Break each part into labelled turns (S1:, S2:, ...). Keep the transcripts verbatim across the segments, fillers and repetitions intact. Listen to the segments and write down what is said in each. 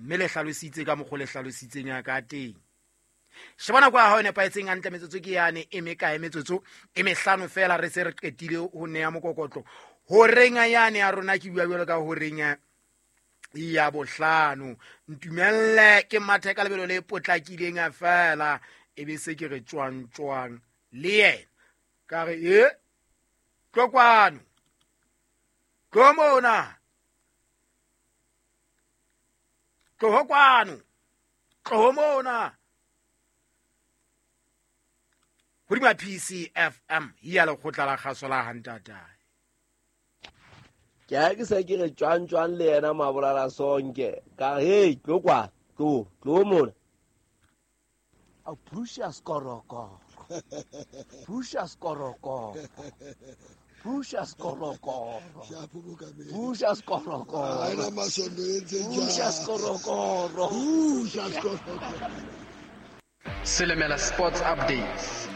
S1: Mme le hlalositse ka mokgwa le hlalositseng ya ka teng. Sheba nako ya hao e nepahetseng hantle, metsotso ke yane e mekae, metsotso e mehlano fela re se re qetile ho neya mokokotlo. Horeng yane ya rona ke bua jwalo ka horeng ya bohlano. Ntumelle ke mathe ka lebelo le potlakileng fela, e be se ke re tjwang tjwang le yena. Ka re e tlo kwano, tlo mona, tloho kwano, tloho mona. Hodima P C F M ya lekgotla la kgaso la Hantatae.
S2: Ke ha ke se ke re tjwang tjwang le yena Mabolala Sonke. Ka re hey, tlo kwa, tlo, tlo mona.
S3: A phusha skorokoro. Phusha skorokoro. Phusha skorokoro. Phusha skorokoro. Phusha skorokoro.
S4: Phusha skorokoro.
S5: Selemela Sports Updates.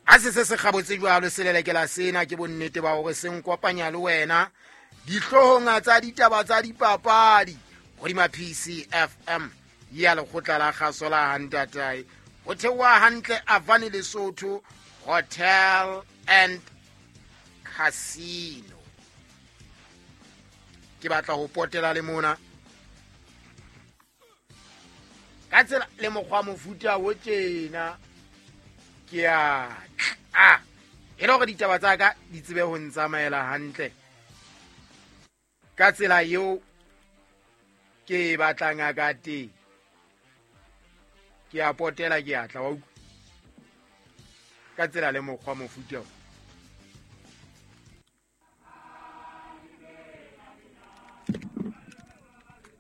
S1: Ha se se se kgabotse jwalo selelekela sena ke bonnete ba hore se nkopanya le wena dihloohong tsa ditaba tsa dipapadi hodima P C F M ya lekgotla la kgaso la Hantatae. Ho theoha hantle Avani Lesotho Hotel and Casino. Ke batla ho potela le mona ka tsela le mokgwa mofuta o tjena. Ke a tla e le hore ditaba tsa ka di tsebe ho ntsamaela hantle ka tsela eo ke e batlang ka teng. Ke a potela, ke a tla wa utlwa ka tsela le mokgwa mofuta o.